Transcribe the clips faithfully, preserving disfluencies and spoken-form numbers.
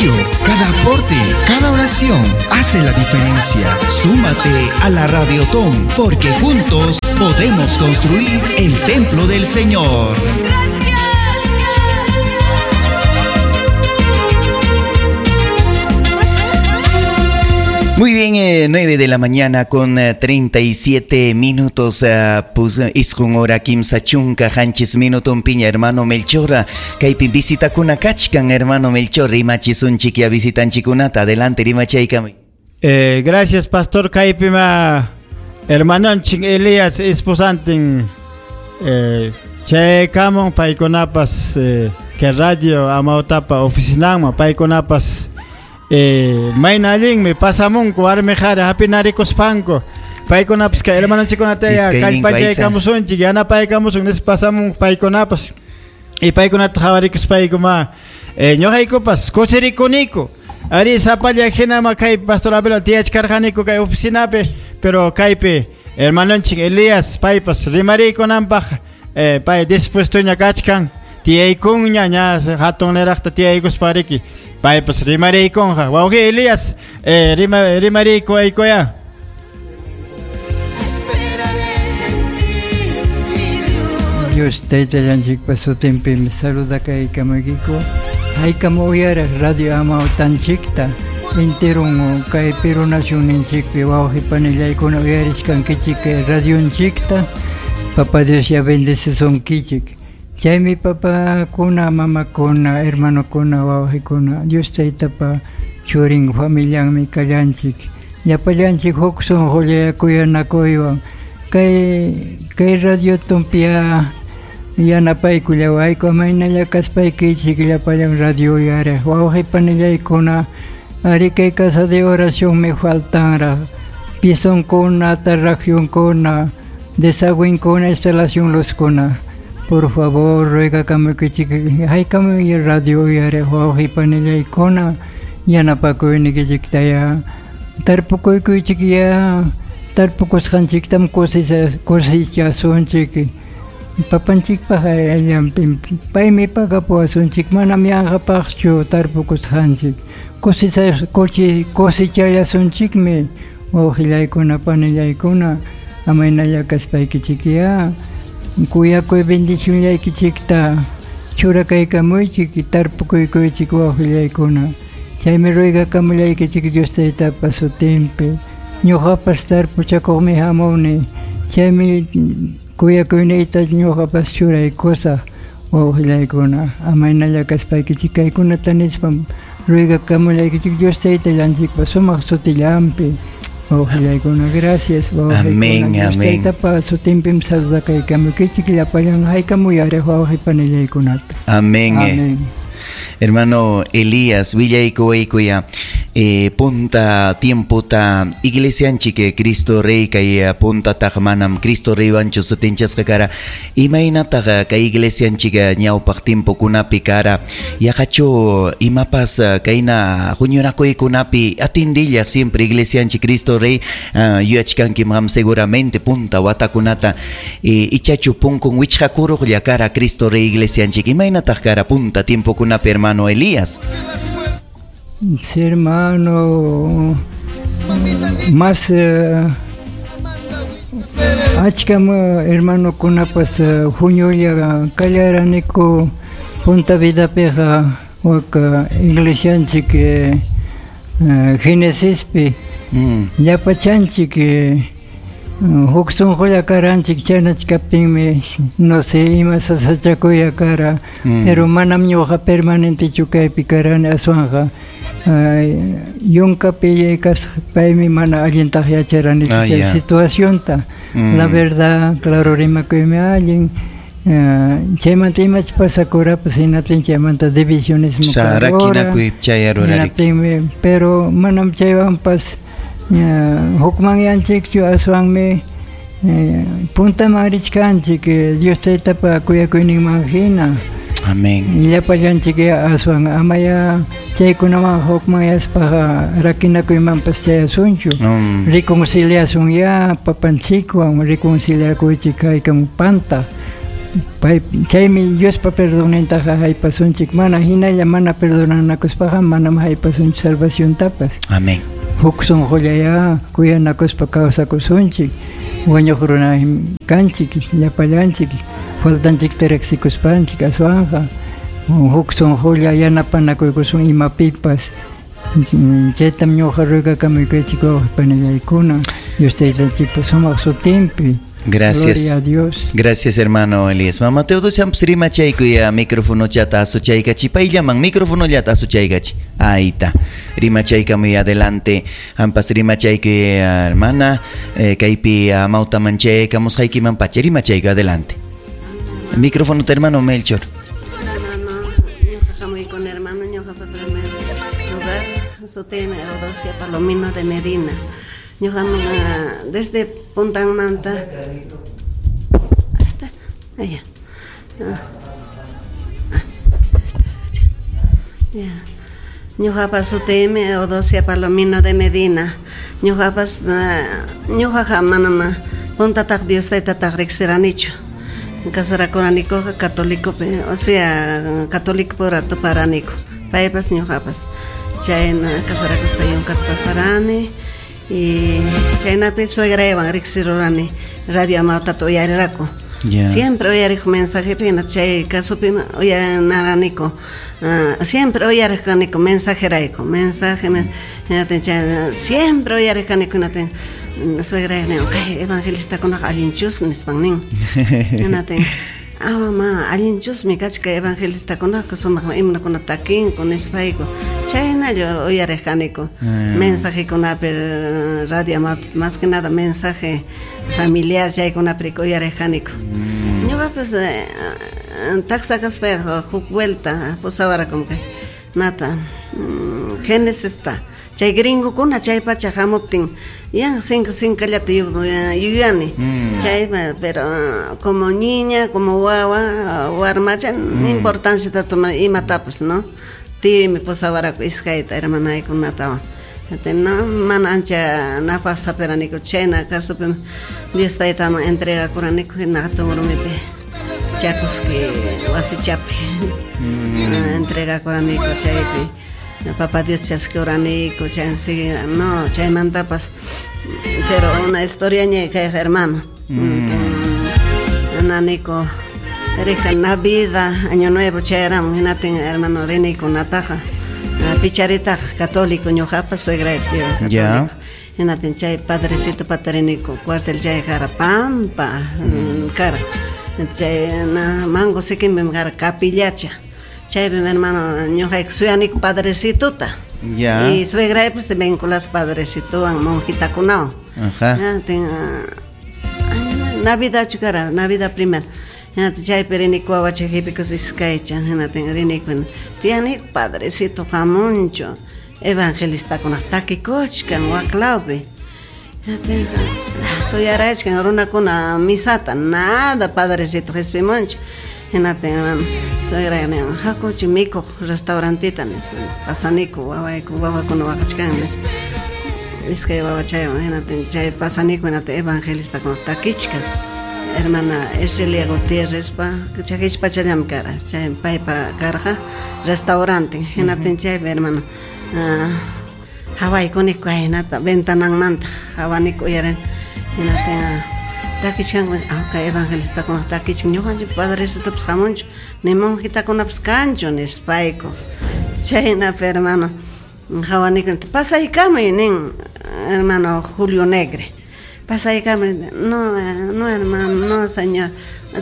apoyo, cada aporte, cada oración hace la diferencia. Súmate a la Radiotón, porque juntos podemos construir el templo del Señor. Muy bien, eh, nueve de la mañana con eh, treinta y siete minutos, eh, pues, isqun hora kimsa chunka hanchis minuton piña, hermano Melchora, kaypi visitakuna kachkan, hermano Melchor, rimachisunchik ya visitanchikunata, adelante rimachaykami. Eh, gracias, pastor, kaypima hermanonchik Elías esposantin, eh, chaykamon paykunapas, eh, que radio Amawtapa oficinanman paykunapas. Eh, mayna allinmi pasamunku warmi qhari hapinarikuspanku paykunapas kay hermanonchikkunata kallpachaykamusunchik yanapaykamusun nispa pasamunku paykunapas y paykunata qhawarikuspayku eh, ñuqaykupas kusirikuniku ari sapalla hinama kay pastor Abel tiyachkarqaniku kay oficinapi pero kaypi hermanonchik Elías paypas rimariykunanpaq eh, pay dispuestoña kachkan tiyaykunña ña hatun niraqta tiyaykuspariki paypas rimariykunqa. Wawqi Elías, eh, rima, rimariyku aykuya. Dios taytallanchikpa sutinpimi saludakaykamaykiku haykam uyaraq radio Amawtanchikta enterun kay Perú nacionninchikpi wawqi panillaykuna uyarishkankichik radionchikta Papá Dios ya bendecisunkichik. Chaymi papakuna, mamakuna, hermanokuna, wawqikuna, Dios taytapa churin familianmi kallanchik. Llapallanchik huk sunqulla kuyanakuywan kay kay radio tumpia yanapaykullawayku amaynalla kaspaykichik llapallan radio uyariq wawqi panillaykuna ari kay casa de oracionmi faltanraq pisonkuna, tarracionkuna, desagüinkuna, instalación luzkuna. Por favor, ruega kamukichik haykam radio uyariq wawqi panillaykuna yanapakuynikichiktaya tarpukuykichik ya tarpukusqanchiktam kusichasunchik papanchikpaq allanpim paymi pagapuwasunchik manam yanqapaqchu tarpukusqanchik kusichallasunchikmi wawqillaykuna panillaykuna amaynalla kaspaykichik ya kuyakuy bendicionllaykichikta churakaykamuychik tarpukuykuychik wawqillaykuna chaymi ruegakamullaykichik Dios taytapa sutinpi ñuqapas tarpuchakuqmi hamuni chaymi kuyakuyniyta ñuqapas churaykusaq wawqillaykuna amaynalla kaspaykichik kaykunata nispam ruegakamullaykichik Dios taytallanchikpa sumaq sutillanpi wawqillaykuna. Gracias. Amén, amén. Taytapa sutinpim saludakaykamukichik llapallan haykam uyariq wawqi panillaykunata. Amén. Amén. Hermano Elías, willaykuwaykuya eh, punta tiempota iglesianchik Cristo Rey kay punta taq manam Cristo Rey wanchu sutinchasqa kara imaynataq kay iglesianchik ñawpaq tiempokunapi kara yaqachu imapas kayna huñunakuykunapi atindillaq siempre iglesianchik Cristo Rey uh, yuyachkanki qam seguramente punta watakunata eh, ichachu punkun wichqakuruqlla kara Cristo Rey iglesianchik imaynataq kara punta tiempokunapi hermano Elías? Sí, hermano, más eh, achkam hermanokunapas huñulla kallaraniku punta vidapiqa wak iglesianchik eh, Genesispi mm. llapachanchik eh, huk sunqulla karanchik chaynachkaptinmi no sé ima sasachakuya kara mm. pero manam ñuqa permanentechu kaypi karani aswanqa yunkapi kaspaymi mana allintaq yacharanichu ah, chay yeah. situacionta mm. La verdad claro rimakuymi allin uh, chaymanta imach pasakurapas hinaptin chaymanta divisionismo rakinakuypi chayarurariki hinaptinmi pero manam chaywanpas hukmanyanchikchu aswanmi eh, puntaman richkanchik Dios taytapa kuyakuyninman hina. Amén. Llapallanchik aswan amaya chaykunaman hukmanyaspaqa rakinakuymanpas chayasunchu mm. reconciliasun ya papanchikwan reconciliakuychik haykam panta Pay chaymi Diospa perdonnintaqa haypasunchik, mana hinalla mana perdonanakuspaqa manam haypasunchik salvaciontapas. Amén. Huk sunqullaya kuyanakuspa kawsakusunchik, wañuq runa kanchik, llapallanchik, faltanchikta riqsikuspanchik aswanqa huk sunqulla yanapanakuykusun imapipas. Chaytam ñuqa ruegakamuykichik wawqipanillaykuna, Dios taytanchikpa sumaq sutinpi. Gracias. Gloria a Dios. Gracias, hermano Elías. Mamá Teodosia rimachaykuya micrófono chata asuchaykachi. Payllaman micrófono llata asuchaykachi. Ahí está. Rimachayka muy adelante. Ampas rimachaykuya hermana. Eh, kaypi amawtaman chaykamusqaykiman pacha. Rimachayku adelante. Micrófono te hermano Melchor. Hermano, ñuqa hermano, ñuqapa primer lugar, sutiymi Eudosia Palomino de Medina. Ñuqam desde Puntanmanta hasta allá. Ya. Ñuqapa sutiymi Eudosia Palomino de Medina. Ñuqapas ñuqaqa manam puntataq Dios taytataq riqsiranichu. Casarakuranikuqa católico, o sea, católico pura tuparaniku. Paypas ñuqapas. Chayna casarakuspa yunkat pasarani. Y chaynapi suegraywan riqsirurani radio Amawtata uyariraku. Yeah. Siempre uyariq mensajepi hina chay kasupi uyanaraniku. Uh, siempre uyariq kaniku mensajerayku, mensaje men, hinatin chay siempre uyariq kaniku hinatin suegraywan nin, kay evangelistakunaqa allinchus nispan nin. Hinatin ah mamá allinchusmi kachka evangelistakunaqa sumaq himnokuna takinku nispayku. Chaynalla uyariq kaniku. Mm. Mensajekunapi radio más que nada mensaje familiar chaykunapi uyariq kaniku. Mm. Ñuqapas eh, taxa kaspayqa huk vuelta pusawarakum kay nata mm, Génesis ta chay gringokuna chay pacha hamuptin ya cinco cincallata yuyani. Mm. Chay pero como niña como wawa warmacha Mm. importancia ta toma imatapas, ¿no? Tiymi pusawaraku iskayta hermanaykunatawan. No mana ancha napaq saperaniku chayna kasupi Dios taytaman entregakuraniku hina hatun rumipi chakuski wasichapi. Mm. Entregakuraniku chaypi papá Dios chaskuraniku chay no chaymantapas pero una historia ña kay hermano. Mm. Naniko rija Navidad Año Nuevo chayaramun hinatin hermano riniku nataqa picharitaqa católico ñuqapas suegra católico. Ya. Hinatin chay padrecito patariniku cuartel chay kara pampa Mm. kara chay na mango sikinpim kara capillacha chaypim hermano ñuqayku suyaniku padrecitota. Ya. Y suegraypas se vinculas padrecitowan monjitakunawan. Ajá. Hinatin Navidadchu kara Navidad primero. Hinatin chaypi riniku wawacha qhipikus iskaycha hinatin riniku tiyaniku padrecito hamunchu evangelistakunaq takikuchkan waklawpi. Hinatin suyarachkan runakuna misata nada padrecito qispimunchu. Hinatin hermano suegra nin hakuchi mikuq restaurantita nispa pasaniku wawayku wawakuna waqachkan nispa iskay wawachaywan hinatin chay pasaniku hinatin evangelistakunaq takichkan. Hermana Ercelia Gutiérrez pa chakichpachallam kara chay paypa karqa restaurante hinatin chaypi hermano uh, hawaykuniku kaynata ventananmanta hawaniku uyarini hinatin takichkanku ah kay evangelistakunaq takichkan ñuqanchik padrecitopas hamunchu ni monjitakunapas kanchu nispayku. Chaynapi hermano hawaniku pasaykamuy nin hermano Julio Negre. Pasaykamuy no no hermano no señor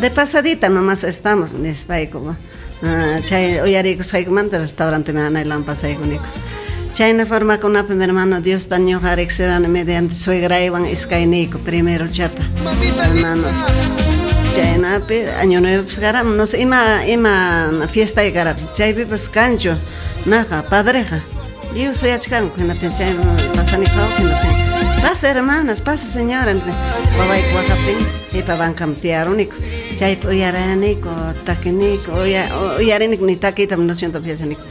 de pasadita nomás estamos nispayku. Uh, chay uyarikusqaykumanta restaurante manaylan pasaykuniku. Chayna formakunapi mi hermano Dios ta ñuqa riqsirani mediante suegraywan iskayniyku primero chata hermano. Chaynapi Año Nuevo pues karam no sé ima ima fiesta kara chaypipas kanchu naqa padreqa lliw suyachkanku hinatin chay pasaniku hinatin pasa hermanas pasa señora wawayku waqaptin qipa bankam tiyaruniku chaypi uyaraniku takiniku uyariniku ni takiytam no siento yachaniku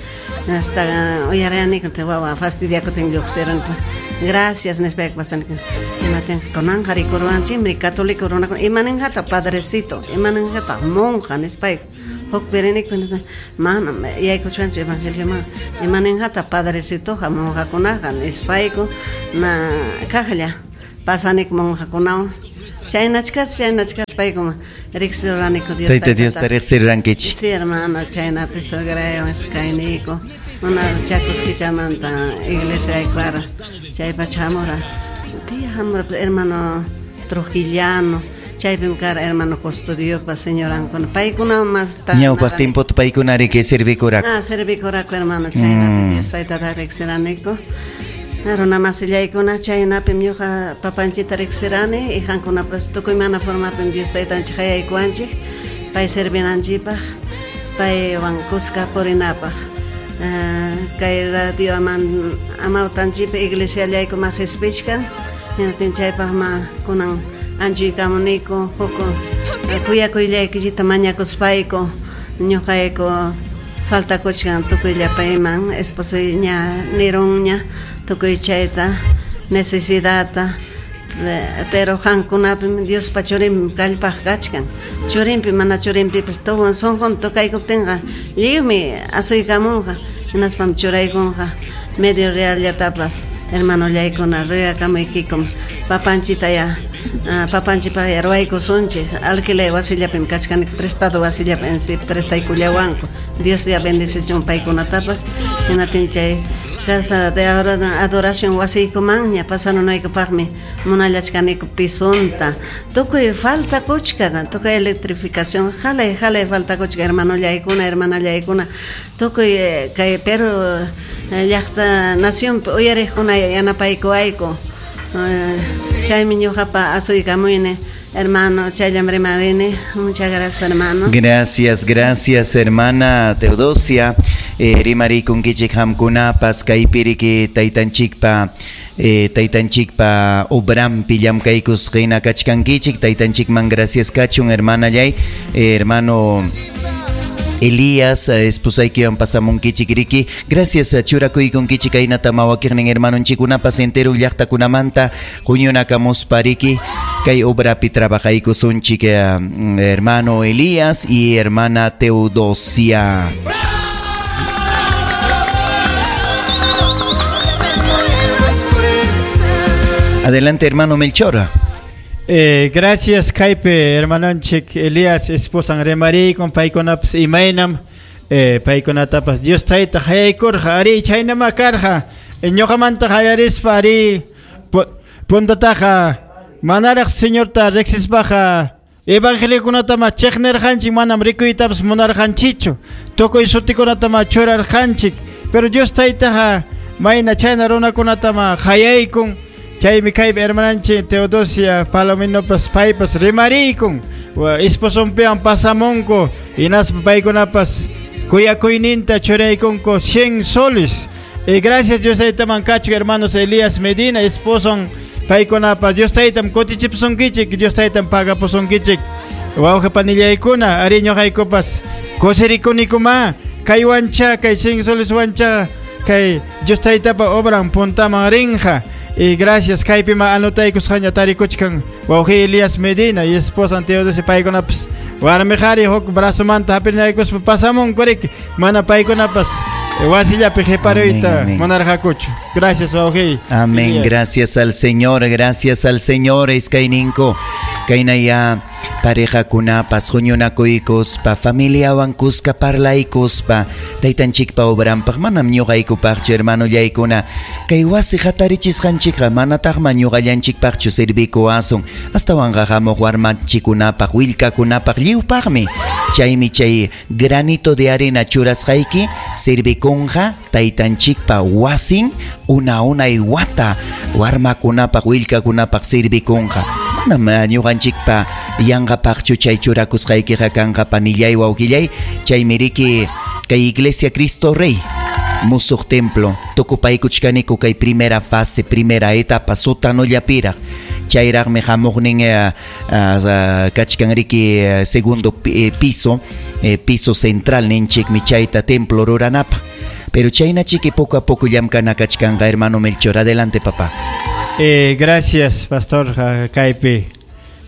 hasta uyaraniku te wawa fastidiakutin lluqsiruniku Gracias nispayku pasaniku. Hinatin kunanqa rikuruwanchikmi católico runakuna imaninqataq padrecito, imaninqataq monja nispayku. Huk piriniku manam yaykuchkanchu evangelioman imaninqataq padrecitoqa monjakunaqa nispayku na kaqlla pasaniku monjakunawan. Chaynachkas chaynachkaspayku riqsiruraniku Dios Tayta Diosta riqsirurankichik. Sí, hermano, chaynapi suegraywan kayniyku una Chacosquichamanta iglesia para chaypacha hamura pi hamura hermano Trujillano chaypim kara hermano Custodiopa señorankuna paykuna mas ñawpaq tiempota paykuna riki servikuraqku. Ah, servikuraqku hermano, chaynapi Dios taytata riqsiraniku. Runa masillaykuna chaynapim ñuqa papanchita riqsirani y qankunapas tukuy mana formapim Dios taytanchik hayaykuwanchik pay servinanchikpaq paywan kuska purinapaq. Kay radio aman amawtanchikpi iglesiallayku ma qispichkan hinatin chaypaq ma kunan anchuykamuniku huk kuyakuyllaykillita mañakuspayku ñuqayku faltakuchkan tukuyllapayman esposoy ña nirunña tukuy chayta necesidadta pero qankunapim Diospa churinmi kallpaq kachkan churinpi mana churinpipas tuwan sunqun tukaykuptinqa lliwmi asuykamunqa hinaspam churaykunqa medio reallatapas hermanollaykuna ruyakamuykikum papanchita ya papanchipaq ya ruwaykusunchik alquiler wasillapim kachkaniku prestado wasillapim prestaykullawanku Dios ya bendicichun paykunatapas hinatin chay casa de adoración wasiykumanña pasarunaykupaqmi munallachkaniku pisonta tukuy falta kuchka tukuy electrificación jalay jalay falta kuchka hermanollaykuna hermanallaykuna tukuy kay Perú llaqta nacionpi uyariqkuna yanapaykuwayku chaymi ñuqapa asuykamuyni hermano, chayllam rimarini. Muchas gracias, hermano. Gracias, gracias, hermana Teodosia. Eh, rimariykunkichik qamkunapas kaypiriki taytanchikpa eh, taytanchikpa obrampi llamkaykusqina kachkankichik taytanchikman gracias kachun hermanallay eh, hermano Elías, esposaykiwan pasamunkichik riki. Gracias churakuykunkichik kaynata mawakiqnin hermanonchikunapas entero llaqtakunamanta huñunakamuspa riki kay obrapi trabajaykusunchik hermano Elías y hermana Teodosia. Adelante, hermano Melchor. Eh, gracias, kaypi hermanonchik Elías esposan rimariykum paykunapas imaynam eh, paykunatapas Dios tayta hayaykurqa ari chaynama karqa ñuqamanta hayarispa ari puntataqa manaraq Señorta riqsispaqa evangeliokunatama chiqnirqanchik manam rikuytapas munarqanchikchu tukuy sutikunatama churarqanchik pero Dios taytaqa mayna chayna runakunatama hayaykun. Chaymi kaypi hermananchik Teodosia Palominopas paypas rimariykum esposonpiwan pasamunku hinaspa paykunapas kuyakuyninta churaykunku cien soles. Y gracias Dios taytaman kachuk hermanos Elías Medina esposon paykunapas Dios taytam kutichipusunkichik Dios taytam pagapusunkichik wawqi panillaykuna ari ñuqaykupas kusirikunikuma kay wancha kay cien soles wancha kay Dios taytapa obran puntaman rinqa. Y gracias, kaypima anotaykusqaña tarikuchkan wawqi Elías Medina y esposa Teodosia paykunapas warmiqhari huk brazomanta hapinaykuspa pasamunku riki mana paykunapas wasillapi qiparuyta munarqakuchu. Gracias, wawqi. Amén, gracias al Señor, gracias al Señor. Iskayninko kaynaya parejakunapas huñunakuykuspa familiawan kuska parlaykuspa taytanchikpa obranpaq manam ñuqaykupaqchu hermanollaykuna kay wasi hatarichisqanchikqa manataqma ñuqallanchikpaqchu servikuwasun astawanqa hamuq warmanchikkunapaq willkakunapaq lliwpaqmi chaymi chay granito de arena churasqayki servikunqa taytanchikpa wasin una unay wata warmakunapaq willkakunapaq servikunqa manam ñuqanchikpa yanqapaqchu chay churakusqaykiqa kanqa panillay wawqillay chaymi riki kay Iglesia Cristo Rey musuq templo tukupaykuchkaniku kay primera fase primera etapa sótanollapiraq chayraqmi hamuqnin kachkan riki segundo piso piso central ninchikmi chayta templo ruranapaq Pero chayna chiki poco a poco llamkana kachkanqa, hermano Melchor. Adelante, papá. Eh, gracias, pastor kaypi.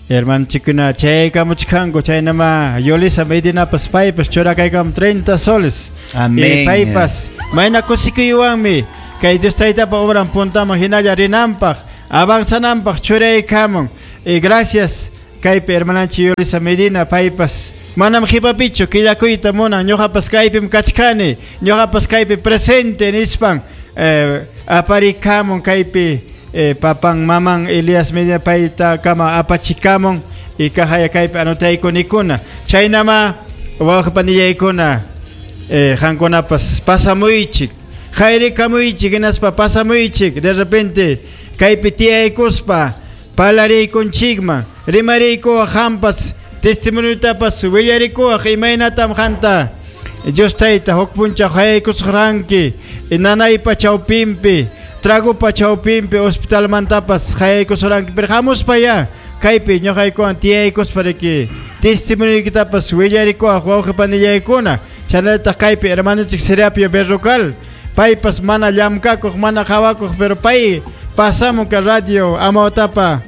Hermano chikuna chaykamuchkanku chaynama Yolisa Medinapas paypas churakaykam treinta soles. Amén. Eh, paypas mayna kusikuywanmi kay Dios taytapa obran puntaman hinalla rinanpaq avanzananpaq churaykamun. Eh, gracias kaypi hermananchik Yolisa Medina paypas manam qipapichu killakuyta munan ñuqapas kaypim kachkani ñuqapas kaypi presente nispan eh, aparikamun kaypi eh, papan maman Elías Medina payta kama apachikamun y kahaya kaypi anotaykunikuna chaynama wawqipanillaykuna eh, qankunapas pasamuychik hayrikamuychik hinaspa pasamuychik de repente kaypi tiyaykuspa parlariykunchikman rimariykuwaq qampas testimoniotapas willarikuwaq imaynatam qanta Dios tayta huk punchaw hayaykusqranki nanaypa chawpinpi tragopa chawpinpi hospitalmantapas hayaykusuranki pero hamuspa ya kaypi ñuqaykuwan tiyaykuspa riki testimonioykitapas willarikuwaq wawqipanillaykuna chaynallataq kaypi hermanonchik Serapio Berrocal paypas mana llamkakuq mana qawakuq pero pay pasamun kay radio Amawtapa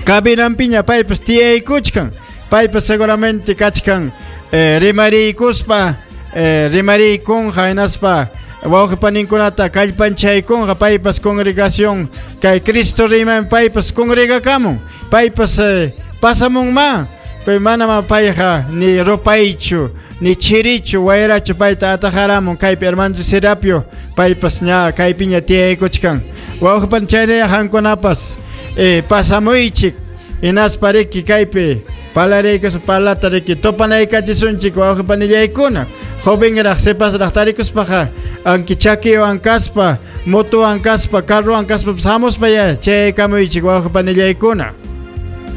cabinanpiña paypas tiyaykuchkan paypas seguramente kachkan eh, rimariykuspa eh, rimariykunqa hinaspa wawqipaninkunata kallpanchaykunqa paypas congregación kay Cristo riman paypas congregakamun paypas eh, pasamunma pero manama payqa ni rupaychu ni chirichu wayrachu payta atajaramun kaypi hermano Serapio paypas ña kaypiña tiyaykuchkan wawqipan chaynaya qankunapas eh, pasamuychik hinaspa riki kaypi parlariykus parlata riki topanaykachisunchik wawqipanillaykuna jovenraq sipasraq tarikuspaqa anki chakiwan kaspa motowan kaspa carrowan kaspapas hamuspa ya chaykamuychik wawqipanillaykuna.